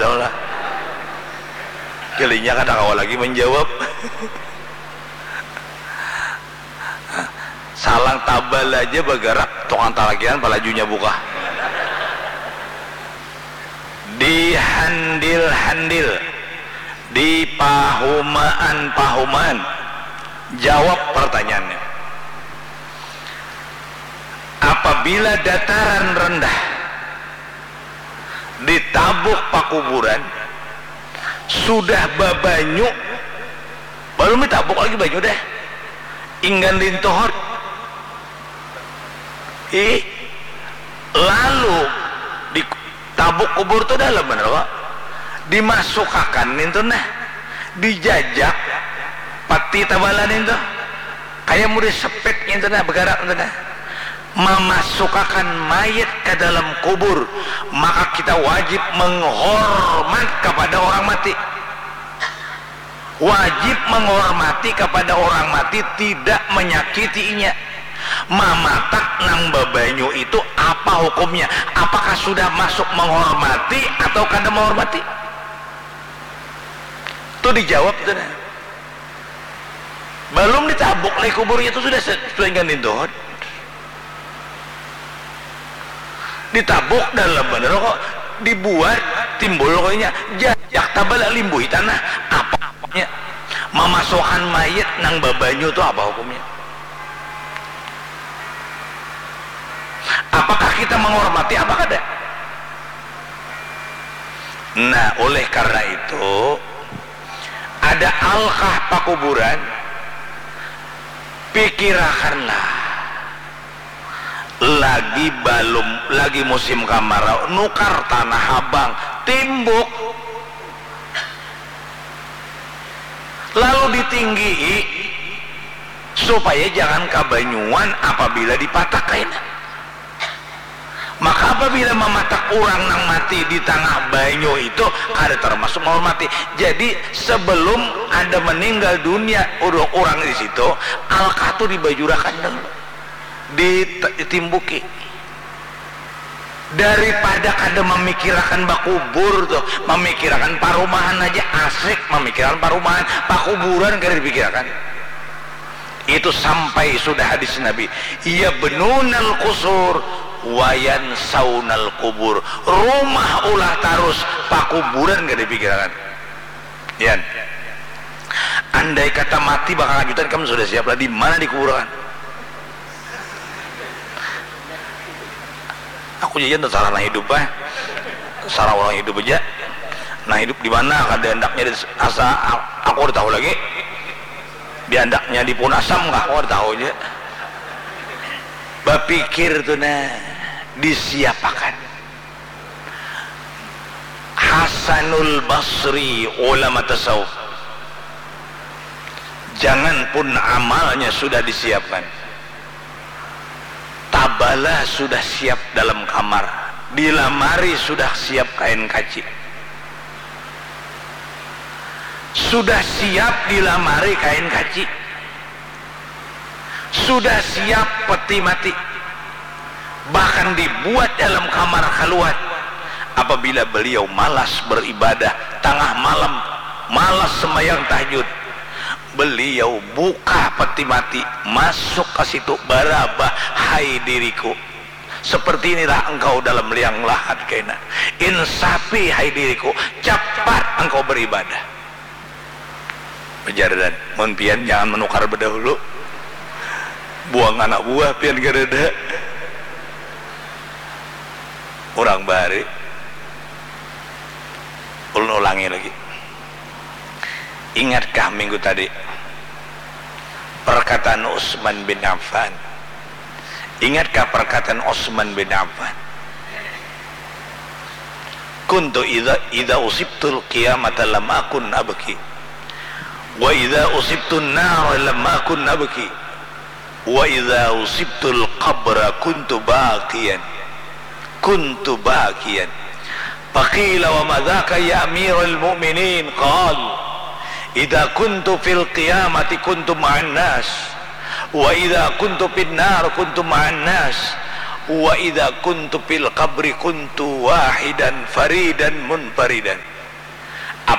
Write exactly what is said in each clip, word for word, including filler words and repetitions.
Lah. Gelinya kada kawa lagi menjawab. Salang tabal aja bagarak, tukang talakian palajunya buka. Dihandil-handil, dipahumaan-pahumaan, jawab pertanyaannya. Apabila dataran rendah ditabuk pakuburan, sudah babanyu, balum ditabuk lagi banyu deh, inggan lintuhut. Ih, lalu ditabuk kubur tu dalam banar kok. Dimasukakan nintu nah, dijajak pati tabala nintu. Kaya murid sepit nintu nah, bagarak nintu nah. Mamasukakan mayit ka dalam kubur, maka kita wajib menghormat kapada orang mati. Wajib menghormati kapada orang mati, tidak menyakiti inya. Mamatak nang babanyu itu apa hukumnya? Apakah sudah masuk menghormati atau kada menghormati? Tu dijawab tu nah. Balum ditabuk lagi kuburnya tu sudah se-, sudah inggan lintuhut. Ditabuk dalam banar kok, dibuat timbul kok inya, jajak tabala limbuhi tanah, apa hukumnya? Mamasuakan mayit nang babanyu tu apa hukumnya? Apakah kita menghormati apa kada? Nah, oleh karena itu, ada alkah pakuburan, pikirakanlah. Lagi balum, lagi musim kamarau, nukar tanah abang, timbuk. Lalu ditinggii supaya jangan kabanyuan apabila dipatak kaina. Maka apabila mamatak urang nang mati di tangah banyu itu kada termasuk menghormati. Jadi sebelum ada meninggal dunia urang, urang di situ, alkah tu dibajurakan dulu. Dit-, ditimbuki. Daripada kada mamikirakan bakubur tu, mamikirakan parumahan haja asik, mamikirakan parumahan, pakuburan kada dipikirakan. Itu sampai sudah hadis Nabi, "Yabnunal qusur wa yansaunal qubur." Rumah ulah tarus, pakuburan kada dipikirakan. Yan. Andai kata mati bakal lanjutan, kam sudah siap lah di mana dikuburakan? Aku jajan tasarah nang hidup ah. Sarah urang hidup aja. Nang hidup di mana, kada handaknya di asa, aku kada tahu lagi. Di handaknya di puhun asam kah, aku kada tahu aja. Bapikir tu nah, disiapakan. Hasanul Basri, ulama tasawuf. Janganpun amalnya sudah disiapkan, tabala sudah siap dalam kamar, di lamari sudah siap kain kaci, sudah siap di lamari kain kaci. Sudah siap peti mati, bahkan dibuat dalam kamar khaluat. Apabila beliau malas beribadah, tangah malam, malas sembahyang tahajud, beliau buka peti mati, masuk ke situ, barabah, "Hai diriku, seperti inilah engkau dalam liang lahat kaina. Insafi, hai diriku, cepat engkau beribadah." Ujar Dan, "Mun pian jangan menukar bedahulu. Buang anak buah pian kadada." Urang bahari, ulun ulangi lagi. Ingatkah minggu tadi perkataan Utsman bin Affan? Ingatkah perkataan Utsman bin Affan? "Kuntu idza, idza usibtul qiyamata lam akun abki. Wa idza usibtun nar lam akun abki. Wa idza usibtul qabra kuntu bakiyan. Kuntu bakiyan." Faqila, "Wa ma dzaka ya Amiral Mu'minin?" Qal, "Idza kuntu fil qiyamati kuntu ma'an nas, wa idza kuntu fin nar kuntu ma'an nas, wa idza kuntu fil qabri kuntu wahidan faridan munfaridan."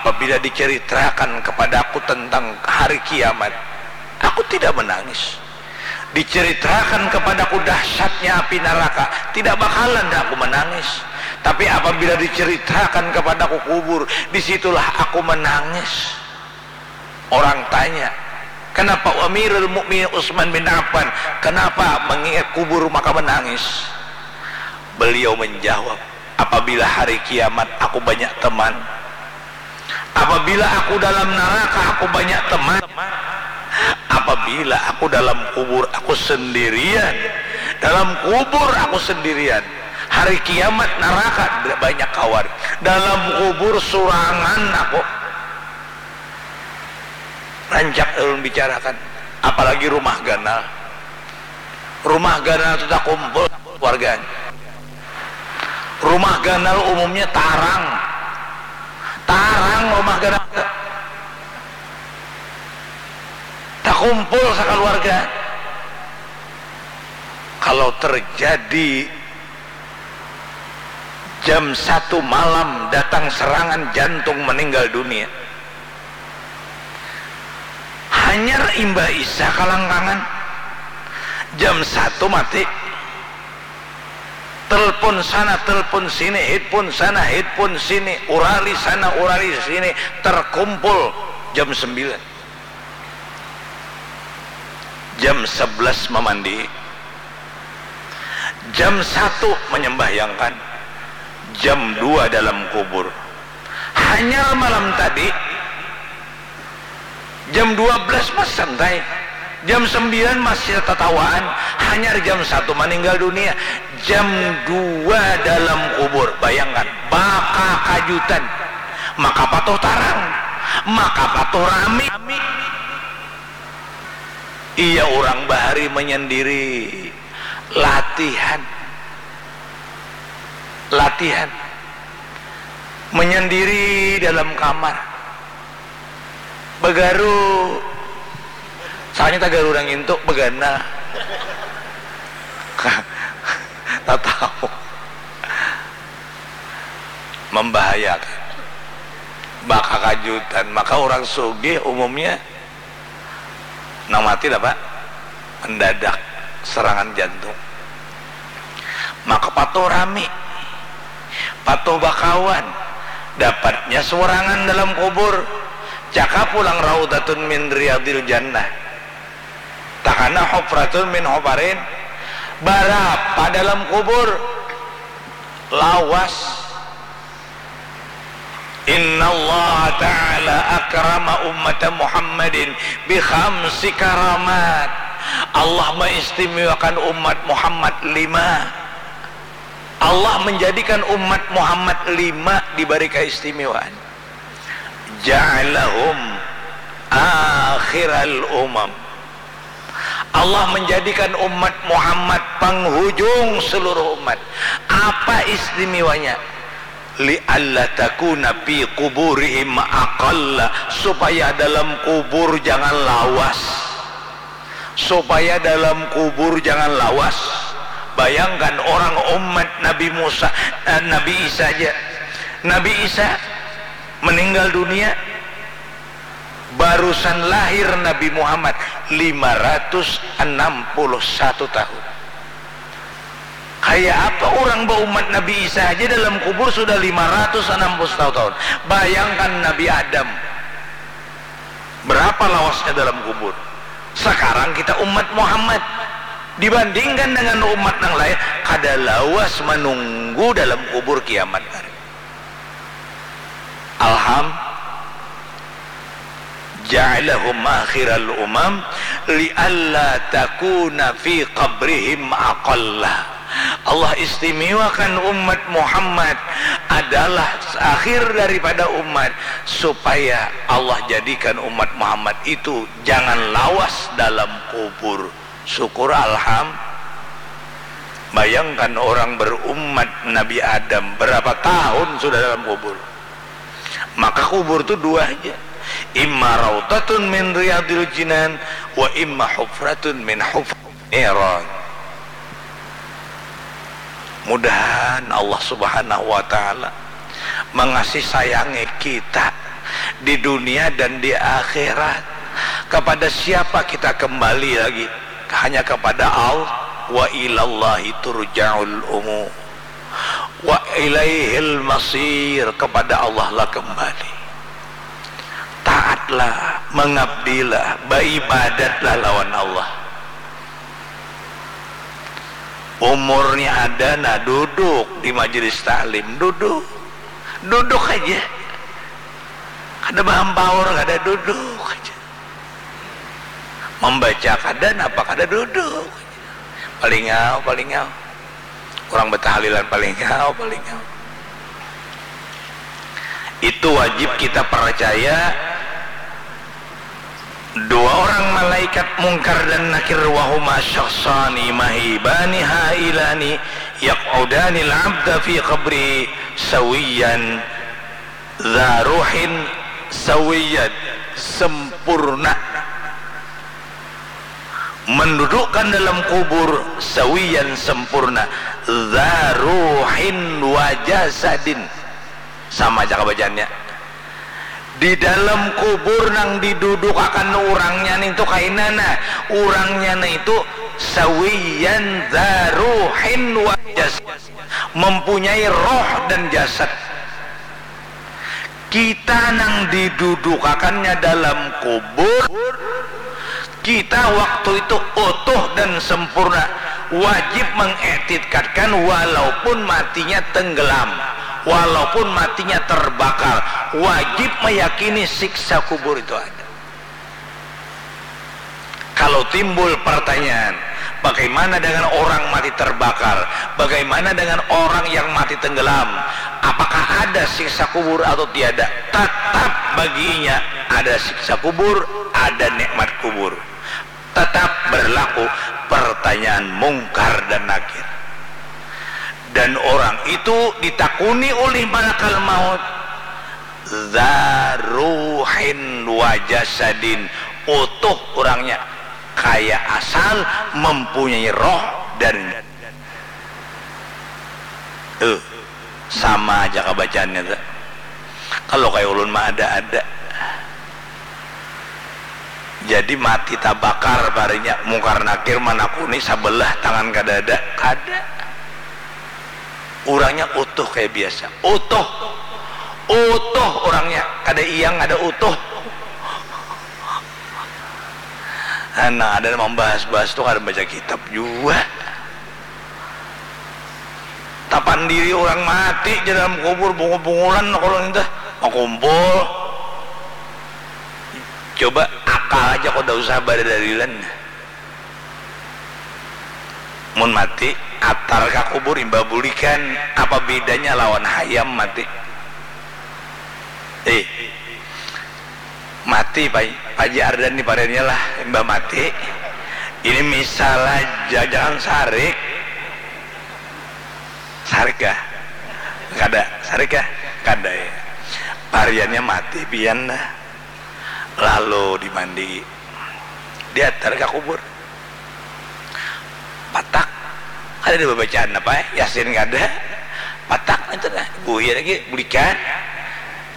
Apabila diceritakan kepadaku tentang hari kiamat, aku tidak menangis. Diceritakan kepadaku dahsyatnya api neraka, tidak bakalan aku menangis. Tapi apabila diceritakan kepadaku kubur, disitulah aku menangis. Orang tanya, "Kenapa Amirul Mukminin Utsman bin Affan, kenapa mengingat kubur maka menangis?" Beliau menjawab, "Apabila hari kiamat, aku banyak teman. Apabila aku dalam neraka, aku banyak teman. Apabila aku dalam kubur, aku sendirian. Dalam kubur, aku sendirian. Hari kiamat, neraka, tidak banyak kawan. Dalam kubur, surangan aku." Rancak ulun bicarakan, apalagi rumah ganal. Rumah ganal tu takumpul warganya. Rumah ganal umumnya tarang. Tarang rumah ganal. Takumpul sakaluarga. Kalau terjadi jam satu malam datang serangan jantung, meninggal dunia, hanyar imbah isya kalangkangan, jam satu mati. Telepon sana, telepon sini, headphone sana, headphone sini, urali sana, urali sini, terkumpul jam sembilan. Jam sebelas mamandi. Jam satu menyembahyangkan. Jam dua dalam kubur. Hanyar malam tadi, jam dua belas masih santai. Jam sembilan masih tatawaan. Hanyar jam satu meninggal dunia. Jam dua dalam kubur. Bayangkan, bakakajutan. Maka patuh tarang. Maka patuh rami. Iya, urang bahari menyendiri, latihan. Latihan. Menyendiri dalam kamar. Bagaru. Soalnya tagaru nang intu, begana. Tatahu. Membahayakan. Bakakajutan. Maka urang sugih umumnya nang mati lah, Pak, mendadak serangan jantung. Maka patuh rami, patuh bakawan, dapatnya surangan dalam kubur, cakap pulang raudhatun min riyadil jannah, takana hufratun min hufarin. Barapa dalam kubur? Lawas. Innallaha ta'ala akrama ummata Muhammadin bi khamsi karamat. Allah maistimewakan umat Muhammad lima. Allah menjadikan umat Muhammad lima diberi keistimewaan. Ja'alahum akhiral umam. Allah menjadikan umat Muhammad penghujung seluruh umat. Apa istimewanya? Lialla takuna fi kuburihim aqalla, supaya dalam kubur jangan lawas. Supaya dalam kubur jangan lawas. Bayangkan orang umat Nabi Musa, eh, Nabi Isa aja. Nabi Isa meninggal dunia, barusan lahir Nabi Muhammad, lima ratus enam puluh satu tahun. Kayak apa orang baumat Nabi Isa aja dalam kubur sudah lima ratus enam puluh satu tahun. Bayangkan Nabi Adam. Berapa lawasnya dalam kubur. Sekarang kita umat Muhammad. Dibandingkan dengan umat nang lain, kada lawas menunggu dalam kubur kiamat hari. Alham, ja'alahum akhiral umam lialla takuna fi qabrihim aqalla. Allah istimewakan umat Muhammad adalah akhir daripada umat supaya Allah jadikan umat Muhammad itu jangan lawas dalam kubur. Syukur alham. Bayangkan orang berumat Nabi Adam berapa tahun sudah dalam kubur. Maka kubur tu dua aja. Imma rautatun min riyadil jinan wa imma hufratun min hufril niran. Mudahan Allah Subhanahu wa Ta'ala mangasih sayangi kita, di dunia dan di akhirat. Kepada siapa kita kembali lagi? Hanya kepada Allah. Wa ilallahi turja'ul umur. Wa ilaihil masir, kepada Allah lah kembali. Taatlah, mengabdilah, beribadatlah lawan Allah. Umurnya ada, nah duduk di majelis taklim, duduk, duduk aja. Kada bahampaur, kada, duduk aja. Membaca kada, napa kada, duduk. Palingau, palingau. Orang betahlilan, palingau, palingau. Itu wajib kita percaya. Dua orang malaikat Mungkar dan Nakir, wahuma syakhsani mahibani hailani yaq'udanil abda fi qabri sawiyan dza ruhin sawiyan, sempurna. Mendudukkan dalam kubur sawiyan, sempurna, dza ruhin wa jasadin. Sama aja kabacaannya. Di dalam kubur nang didudukakan urangnya nintu kaina nah, urangnya nah itu sawiyan dza ruhin wa jasad, mempunyai roh dan jasad. Kita nang didudukakannya dalam kubur, kita waktu itu utuh dan sempurna, wajib mengiktikadkan walaupun matinya tenggelam, walaupun matinya terbakar, wajib meyakini siksa kubur itu ada. Kalau timbul pertanyaan, bagaimana dengan orang mati terbakar? Bagaimana dengan orang yang mati tenggelam? Apakah ada siksa kubur atau tiada? Tetap baginya ada siksa kubur, ada nikmat kubur. Tetap berlaku pertanyaan Mungkar dan Nakir. Dan orang itu ditakuni oleh malakal maut, dza ruhin wa jasadin, utuh orangnya, kaya asal, mempunyai roh dan, eh, sama aja kabacaannya tu. Kalau kaya ulun mah ada-ada. Jadi mati tabakar parinya, Mungkar Nakir manakuni sabelah tangan kadada, kada. Urangnya utuh kaya biasa, utuh, utuh urangnya, kada iyang, kada utuh. Nah, ada nang mambahas-bahas tu kada baca kitab jua. Tapandiri urang mati ja dalam kubur, bungul-bungulan kalau nintu, bakumpul. Coba akal aja kada usah badadalilan. Mun mati, atar ka kubur imbah bulikan, apa bidanya lawan hayam mati? Eh, mati, Pai-, Paji Ardan ni pariannya lah, imbah mati. Ini misal aja, jangan sarik. Sarik kah? Kada. Sarik kah? Kada, ya. Pariannya mati pian dah. Lalu dimandi. Diatar ka kubur. Patak. Kada ada babacaan apa, eh? Yasin kada. Patak itu dah. Buhir lagi, bulikan.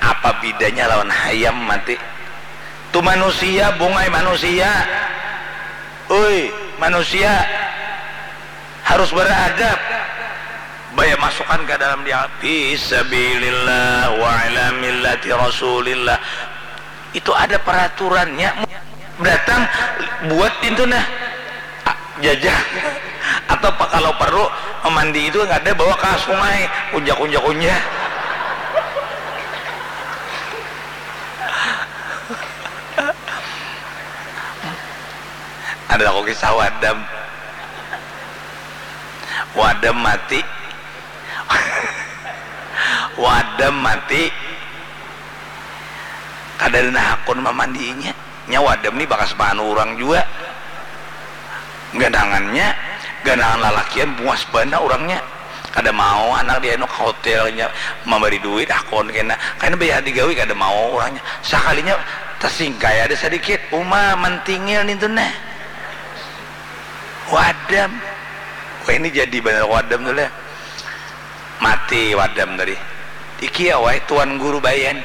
Apa bidanya lawan hayam mati? Tu manusia, bungai manusia. Ui, manusia harus beradab. Baya masukan ka dalam dia, fi sabilillah wa ala millati Rasulillah. Itu ada peraturannya. Datang, buat pintu nah. Ah, jajah. Atau pa-, kalau perlu, memandi itu kada, bawa ka sungai, kunja, kunja, kunja. Ada aku kisah wadam. Wadam mati. Wadam mati. Kada ada nang hakun mamandiinya. Nya wadam ni bakas maanu urang jua. Ganangannya, ganangan lalakian bungas banar urangnya. Kada mau anak dianu ka hotelnya, mambari duit, hakun kena. Kena bayar digawi, kada mau urangnya. Sakalinya tasingkai ada sadikit, uma mantingil nintu nah. Wadam. Wah, ini jadi banar wadam tu lah. Mati wadam tadi. Iki ya, wahai Tuan Guru Bayan.